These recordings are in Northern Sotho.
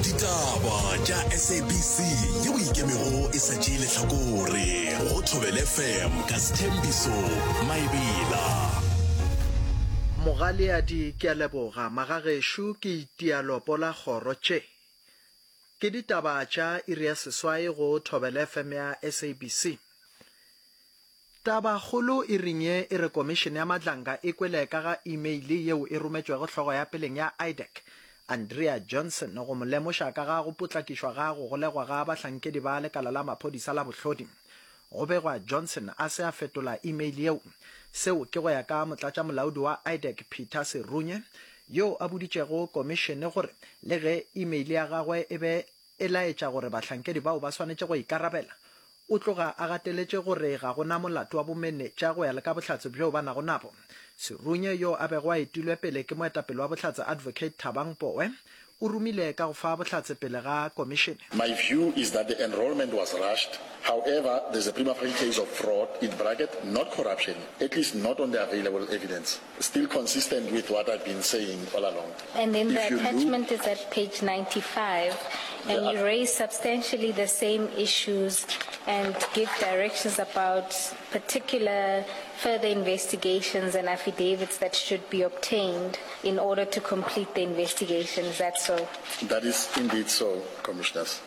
Ditaba tša SABC yeo e ikemego e sa tšee lehlakore go Thobela FM ka Sthembiso Maebela. Mogaleadi ke a leboga magagešo ke itia lopo la kgoro tše ke ditaba tša iri ya seswai go Thobela FM ya SABC. Tabakgolo e reng ye e re Komišene ya Madlanga e kwele ka ga imeile yeo e rometšwego hlogo ya peleng ya IDAC, Andrea Johnson, go mo lemoša ka ga go potlakišwa ga go golegwa ga bahlankedi ba lekala la maphodisa la bohlodi. Go begwa Johnson a se a fetola imeile yeo. Seo ke go ya ka motlatšamolaodi wa IDAC Peter Serunye, yo a boditšego komišene gore le ge imeile ya gagwe e be e laetša gore bahlankedi bao ba swanetše go ikarabela. O tloga a gateletše gore ga go na molato wa bomenetša go ya le ka bohlatse bjoo ba nago nabo. Serunye, yo a bego a etilwe pele ke moetapele wa bohlatse Advocate Thabang Powe, o romile ka go fa bohlatse pele ga komišene. My view is that the enrolment was rushed, however, there's a prima facie case of fraud, in bracket, not corruption, at least not on the available evidence. Still consistent with what I've been saying all along. And then If the you look attachment is at page 95, and The you raise substantially the same issues and give directions about particular further investigations and affidavits that should be obtained in order to complete the investigation. Is that so? That is indeed so, Commissioners.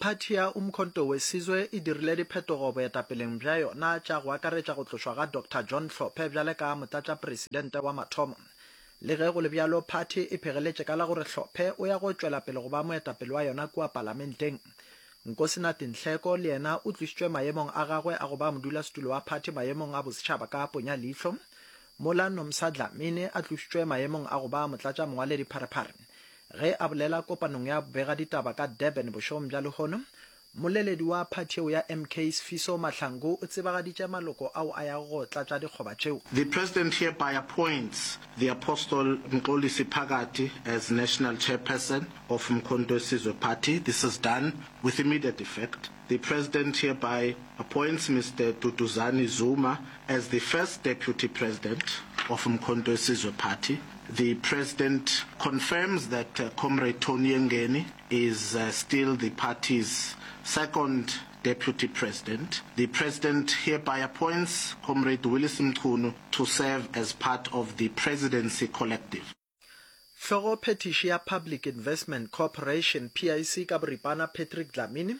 Phathi ya Umkhonto we Sizwe e dirile diphetogo boetapeleng bja yona tša go akaretša go tlošwa ga Doctor John Hlophe bjale ka motlatšapresidente wa mathomo. Le ge go le bjalo, phathi e phegeletše ka la gore Hlophe o ya go tšwela pele go ba moetapele wa yona kua palamenteng. Nkosinathi Nhleko le yena o tlošitšwe maemong a gagwe a go ba modulasetulo wa phathi maemong a bosetšhaba ka ponya leihlo, mola Nomsa Dlamini a tlošitšwe maemong a go ba motlatšamongwaledipharephare. Ge a bolela kopanong ya bobegaditaba ka Durban bošegong bja lehono, mmoleledi wa phathi yeo ya MK Sifiso Mahlangu o tsebagaditše maloko ao a yago go tlatša dikgoba tšeo. The President hereby appoints the Apostle Mxolisi Phakathi as National Chairperson of Mkhonto weSizwe Party. This is done with immediate effect. The President hereby appoints Mister Duduzane Zuma as the First Deputy President of Mkhonto weSizwe Party. The President confirms that Comrade Tony Yengeni is still the party's Second Deputy President. The President hereby appoints Comrade Willis Mchunu to serve as part of the Presidency Collective. Hlogophethiši ya Public Investment Corporation, PIC, ka boripana Patrick Dlamini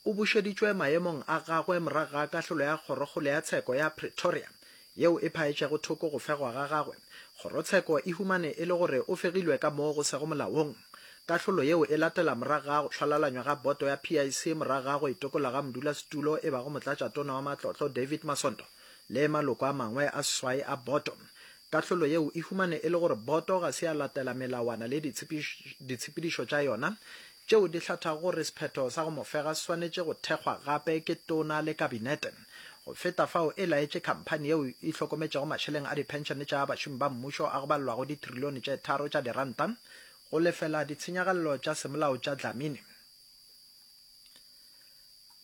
o bušeditšwe maemong a gagwe morago ga kahlolo ya Kgorokgolo ya Tsheko ya Pretoria yeo e phaetšego thoko go fegwa ga gagwe. Kgorotsheko e humane e le gore o fegilwe ka moo go sego molaong. Kahlolo yeo e latela morago ga go šwalalanywa ga boto ya PIC morago ga go itokolla ga modulasetulo e bago motlatšatona wa matlotlo David Masondo le maloko a mangwe a seswai a boto. Kahlolo yeo e humane e le gore boto ga se ya latela melawana le ditshepedišo tša yona tšeo di hlathago gore sephetho sa go mo fega se swanetše go thekgwa gape ke Tona le Kabinete. Go feta fao e laetše khamphani yeo e hlokometšego mašeleng a diphenšene tša bašomi ba mmušo a go balelwago ditrilione tše tharo tša diranta go lefela ditshenyagalelo tša semolao tša Dlamini.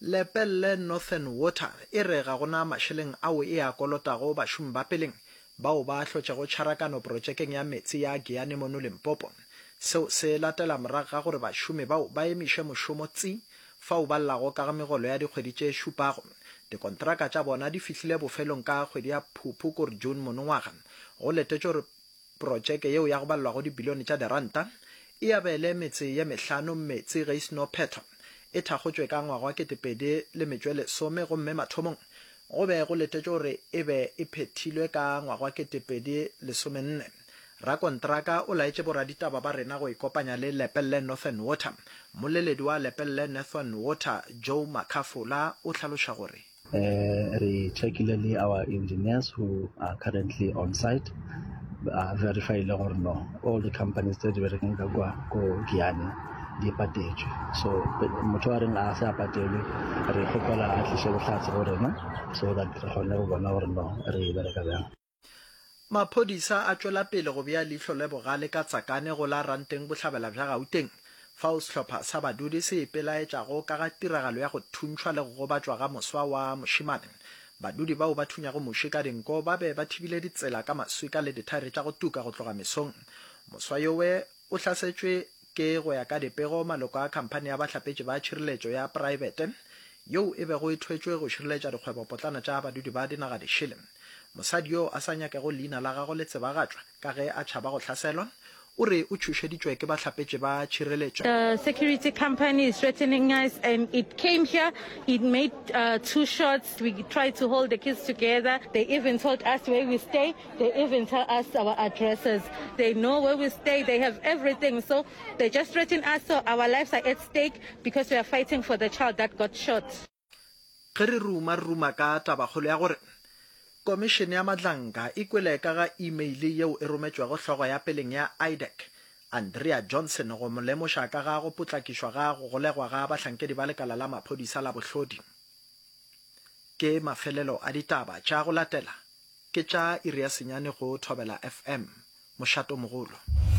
Lepelle Northern Water e re ga go na mašeleng ao e a kolotago bašomi ba peleng bao ba hlotšego tšharakano protšekeng ya meetse ya Giyani mono Limpopo. Seo se latela morago ga gore bašomi bao ba emiše mošomo tsi fao ba llago ka ga megolo ya dikgwedi tše šupago. Dikontraka tša bona di fihlile bofelong ka kgwedi ya Phuphu kore June monongwaga. Go letetšwe gore Protšeke yeo ya go balelwago dibilione tša diranta e abele metse ye mehlano meetse ge e seno phethwa. E thakgotšwe ka ngwaga wa 2010 gomme mathomong go be go letetšwe gore e be e phethilwe ka ngwaga wa 2014. Rakontraka o laetše boraditaba ba rena go ikopanya le Lepelle Northern Water. Mmoleledi wa Lepelle Northern Water, Joe Makhafola o hlaloša gore. Re checkile le our engineers who are currently on site ba verifyile gore no all the companies tse di berekang ka kwa ko Giyani di patetšwe so motho a reng a se a patelwe re kgopela a tliše bohlatse go rena so that re kgone go bona gore no re bereka bjang. Maphodisa a tšwela pele go bea leihlo le bogale ka Tsakane go la Ranteng bohlabela bja Gauteng, fao sehlopha sa badudi se ipelaetšago ka ga tiragalo ya go thuntšhwa le go gobatšwa ga moswa wa mošemane. Badudi bao ba thunyago muši ka dinko ba be ba thibile ditsela ka maswika le dithaere tša go tuka go tloga mesong. Moswa yowe o hlasetšwe. Ke go ya ka dipego, maloko a khamphani ya bahlapetši ba tšhireletšo ya praebete yeo e bego e thwetšwe go šireletša dikgwebopotlana tša badudi ba dinaga dišele. Mosadi yo a sa nyakego leina la gagwe le tsebagatšwa ka ge a tšhaba go hlaselwa, o re o tšhošeditšwe ke bahlapetši ba tšhireletšo. The security company is threatening us and it came here, it made uh, two shots, we tried to hold the kids together, they even told us where we stay, they even tell us our addresses, they know where we stay, they have everything, so they just threaten us, so our lives are at stake because we are fighting for the child that got shot. Ge re ruma, re ruma ka tabakgolo ya gore Komišene ya Madlanka e kwele ka ga imeile yeo e rometšwego hlogo ya peleng ya IDAC, Andrea Johnson go mo lemoša ka ga go potlakišwa ga go golegwa ga bahlankedi ba lekala la maphodisa la bohlodi. Ke mafelelo a ditaba tša go latela ke tša iri ya senyane go Thobela FM, mošatomogolo.